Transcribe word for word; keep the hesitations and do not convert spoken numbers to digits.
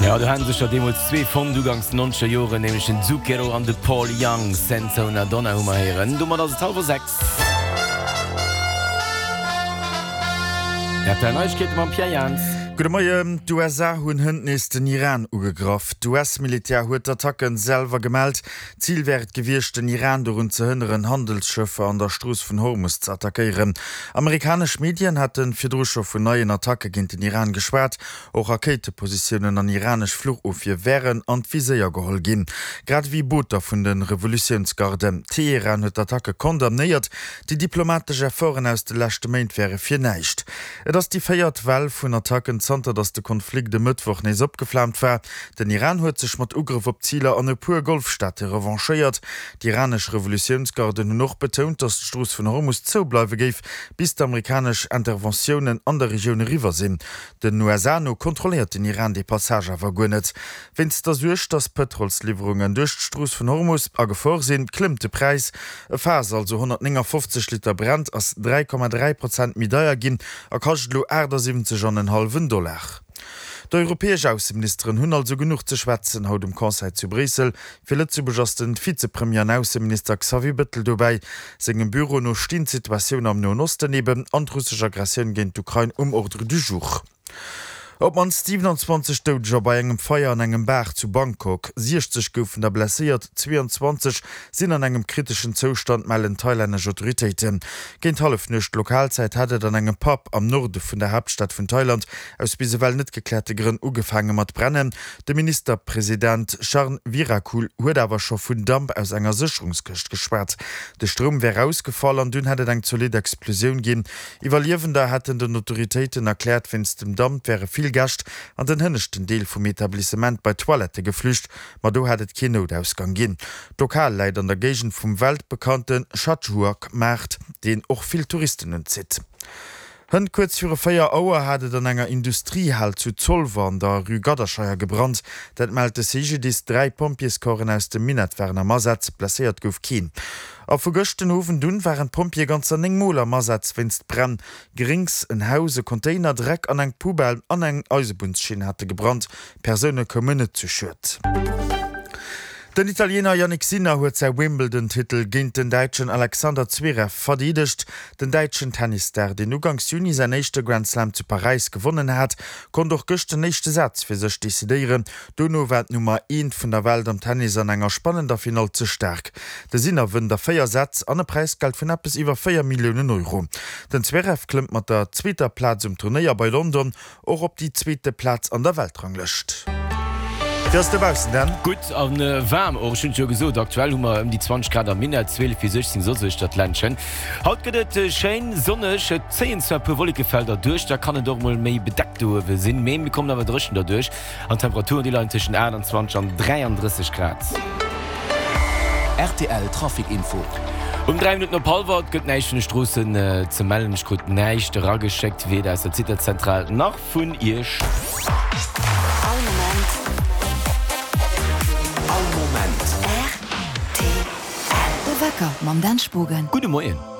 Jo, do hate sech der deemools zwee fonnt, uganks den nonzeger Joren, nämlech den Zucchero an de Paul Young. Senza una donna hu mer héieren. Domat ass et hallwer sechs. R T L Neiegkeete mam Pierre Jans. Gudde Moien. D'U S A hunn hënt nees den Iran ugegraff. D'U S-Militär huet d'Attacken selwer gemellt. Zil wär et gewiescht, den Iran dorun ze hënneren, Handelsschëffer an der Strooss vun Hormus ze attackéieren. Amerikanesch Medien hate virdru scho vun neien Attacke géint den Iran geschwat. Och Rakéitepositiounen an iranesch Fluchofwier wären an d'Viséier geholl ginn, grad ewéi Booter vun de Revolutiounsgarden. Teheran huet d'Attacke condamnéiert. Déi diplomatesch Efforten aus de leschte Méint wäre fir näischt. Et ass déi véiert Well vun Attacken, zanter datt de Konflikt e Mëttwoch nees opgeflaamt war. Den Iran huet sech mat Ugrëff op Ziler an e puer Golfstaate revanchéiert. D'iranesch Revolutiounsgarden hunn och betount, datt d'Strooss vun Hormus zou bleiwe géif, bis d'amerikanesch Interventiounen an der Regioun eriwwer sinn. Den U S A no kontrolléiert den Iran dee Passage awer guer net. Wéinst der Suerg, datt Pëtrolsliwwerungen duerch d'Strooss vun Hormus a Gefor sinn, klëmmt de Präis. E Faass, also honnertnéngafofzeg Liter Brent, ass dräi Komma dräi Prozent méi deier ginn a kascht elo aachtasiwwenzeg an en hallwen Dollar. D'europäesch Ausseministeren hunn also genuch ze schwätzen haut um Conseil zu Bréissel. Fir Lëtzebuerg ass de Vizepremier an Ausseminister Xavier Bettel dobäi. Sengem Büro no stinn d'Situatioun am Noen Osten eben an d'russesch Aggressioun géint d'Ukrain um Ordre du jour. Op d'mannst siwenanzwanzeg Doudeger bei engem Feier an engem Bar zu Bangkok. Siechzeg goufen der blesséiert, zweeanzwanzeg sinn an engem kriteschen Zoustand, mellen thailännesch Autoritéiten. Géint Hallefnuecht Lokalzäit hat et an engem Pub am Norde vun der Haaptstad vun Thailand aus bis ewell net gekläerte Grënn ugefaange mat brennen. De Ministerpresident Charnvirakul huet awer scho vun Damp aus enger Sécherungskëscht geschwat. De Stroum wär ausgefall an dunn hätt et eng zolidd Explosioun ginn. Iwwerliewender hätten den Autoritéiten erkläert, wéinst dem Damp wäre vill Gäscht an den hënneschten Deel vum Etablissement bei d'Toilette geflücht, ma do hätt et keen Noutausgang ginn. D'Lokal läit an der Géigend vum weltbekannte Chatuchak-Maart, deen och vill Touristen unzitt. Hënt kuerz viru véier Auer hat et an enger Industriehal zu Zolwer an der Rue Gadderscheier gebrannt. Dat mellt de C G D I S. Dräi Pompjeescorpsen aus dem Minett waren am Asaz, blesséiert gouf keen. A vu gëscht den Owend un waren d'Pompjeeë ganzer néng Mol am Asaz wéinst Bränn. Gréngs, en Haus, e Container, Dreck an eng Poubelle an eng Eisebunnschinn hate gebrannt. Persoune koumen net zu Schued. Den Italiener Jannik Sinner huet säi Wimbledon-Titel géint den Däitschen Alexander Zverev verdeedegt. Den däitschen Tennisstar, deen uganks Juni säin éischte Grand Slam zu Paräis gewonnen hat, konnt och gëscht den éischte Saz fir sech decidéieren. Dono war d'Nummer eent vun der Welt am Tennis an enger spannender Finall ze staark. De Sinner wënnt a véier Sätz an e Präisgeld vun eppes iwwer véier Milliounen Euro. Den Zverev klëmmt mat der zweeter Plaz um Turnéier bei London och op déi zweete Plaz an der Weltranglëscht. Wéi ass dobaussen dann? Gutt a waarm och. Ech hunn et jo gesot, aktuell hu mer ëm déi zwanzeg Grad am Minett, zwielef bis siechzéng soss uechter d'Ländchen. Haut gëtt et schéin sonneg, et zéien zwar e puer Wollekefelder duerch, da kann et och mol méi bedeckt do uewe sinn, mee mir kommen awer dréchen derduerch an d'Temperaturen déi leien tëschent aachtanzwanzeg an dräiandrësseg Grad. R T L Trafic Info. Um dräi Minutten op hallwer, et gëtt näischt vun de Stroossen ze mellen. Ech krut näischt erageschéckt, weder aus der Zitterzentral nach vun Iech. All Moment. All Moment. R T L. De Wecker mam Dan Spogen. Gudde Moien.